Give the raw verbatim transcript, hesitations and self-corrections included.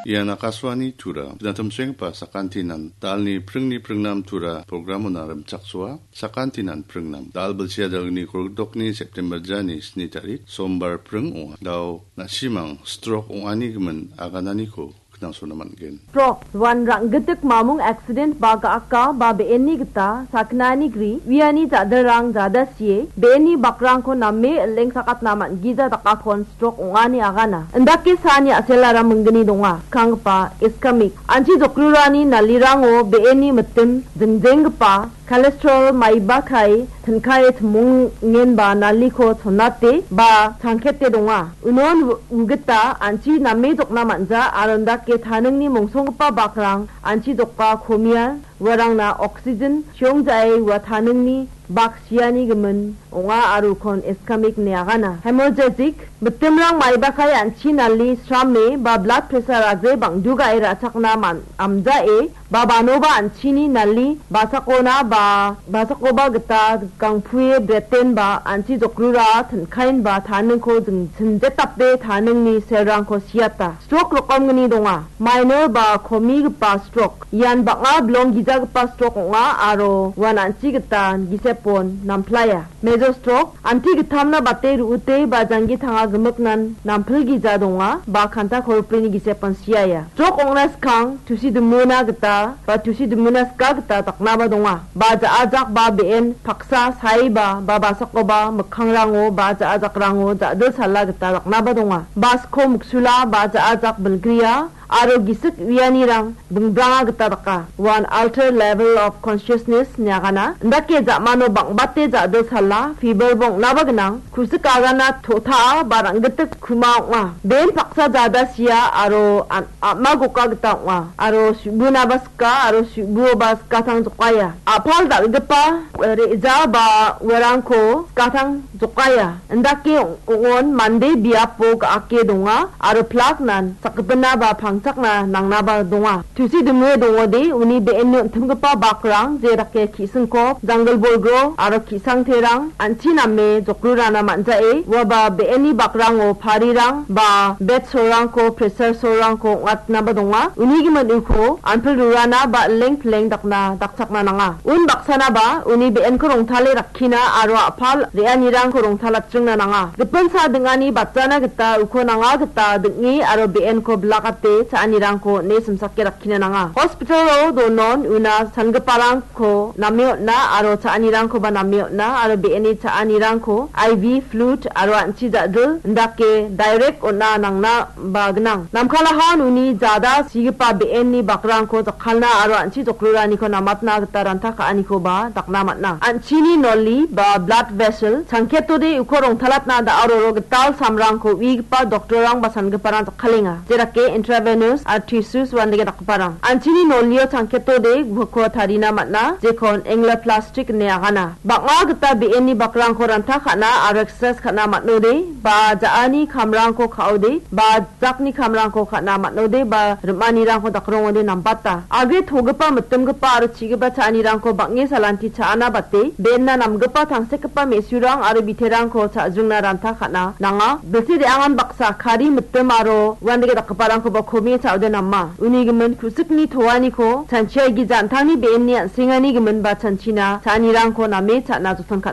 Ian Akashvani Tura, Pinatumsenggipa sakantinan, dalni pringni pringnam Tura programona rimchaksoa, sakantinan pringnam, dal bilsia dalgni kolgitokni September jani sni tarik, Sombar pring ong·a. Dao na·simang stroke ong·ani gimin agananiko knangsona man·gen. Stroke, uan rang·gitik mamung accident ba ga·aka ba be·enni gita sakgnani gri, uiani ja·dilrang jada sie, be·enni bakrangko name ilengsakatna man·gija dakakon stroke ong·ani agana. Indake saani a·selara minggni donga, skanggipa ischemic. Anchi jokrurani nalirango be·enni mitim jingjenggipa cholesterol maibakai tinkae timongenba naliko chonate ba changkete donga. Unon u-, ugita anchi name jokna man·ja aro indake taningni mongsonggipa bakrang anchi joka komia uarangna oxygen chiongjae ua taningni bak siani gimin ong·a aro ukon ischemic ine agana. Hemorrhagic, mitimrang maibakai anchi nali srame ba blood pressure aje bang·dugae ra·chakna man-, amjae ba banoba anchini nali basakona ba basakoba gita gangpue bretenba anchi jokrura tinkaenba taningko jing-, sinjetape taningni selrangko siata. Stroke rokomgni donga. Minor ba komigipa stroke. Ian bang·a bilong gijagipa stroke ong·a aro uan an·chi gita gisepon namplaia. Major stroke, anti gittamna bate ru·ute ba janggi tanga gimiknan nampilgija donga ba kanta koropini gisepon siaia. Stroke ong·na skang tusi dimuna gita ba tusi dimuna ska gita daknaba donga. Ba ja·ajak ba be·en paksa saiba ba basakoba mikkangrango ba ja·ajakrango ja·dilsala gita daknaba donga. Basko miksula ba ja·ajak bilgria aro gisik uianirang bingbranga gita daka. Uan altered level of consciousness niagana. Indake ja·mano bang·bate ja·dilsala, fever bong·naba gnang. Kusik agana to·taa ba rang·gitik kuma ong·a. Ben paksa jada sia aro an-, a·ma goka gita ong·a. Aro su·bunaba sika aro su·buoba skatang jokaia. A·pal dal·gipa re·ja ba uarangko skatang jokaia. Indake ong-, ong·on mande biapo ga·ake donga aro plaknan sakgipinaba pangchakna nangnaba donga. Tusi dimue dongode uni be·enni on·timgipa bakrang je dake ki·singkop, janggil bolgro aro ki·sangterang an·chi name jokrurana man·jae uaba be·enni bakrango parirang ba bed sorrangko, pressure sorrangko ong·atnaba donga. Uni gimin uko anpil rurana ba ileng pileng dakna dakchakna nanga. Un baksanaba uni be·enko rongtale rakkina aro a·pal re·anirangko rongtalatchingna nanga. Gipin sa ding·ani batjana gita uko nanga gita ding·e aro be·enko bilakate cha·anirangko on·e simsake rakkina nanga. Hospitalo donon una sangiparangko name on·a aro cha·anirangkoba name on·a aro be·eni cha·anirangko I V fluid aro an·chi ja·dil indake direct on·a nangna ba gnang. Namkalahan uni jada sigipa be·enni bakrangko jakkalna aro an·chi jokroraniko namatna gita ranta ka·anikoba dakna man·a. An·chini noli ba blood vessel changketode uko rongtalatna da·aroro gital samrangko uigipa doktorrang ba sangiparang jakkalenga. Jerake intravenous aro tissues uandake dakgiparang. An·chini nolio changketode uko tarina man·a, jekon angioplastic ine agana. Bang·a gita be·enni bakrangko ranta ka·na aro exercise ka·na man·ode, ba ja·ani kamrangko ka·ode, ba jakni kamrangko ka·na man·ode ba rim·anirangko dakrongode nambata. Agre togipa, mitimgipa aro chigipa cha·anirangko bang·e salanti cha·ana bate, be·enna namgipa tangsekgipa me·surang aro biterangko cha·jringna ranta ka·na nanga. Bilsi re·angan baksa kari mitim aro uandake dakgiparangkoba komie cha·ode nama. Uni gimin ku·sikni toaniko chanchiaigija an·tangni be·enni an·sengani gimin ba chanchina cha·anirangko name cha·na joton ka·na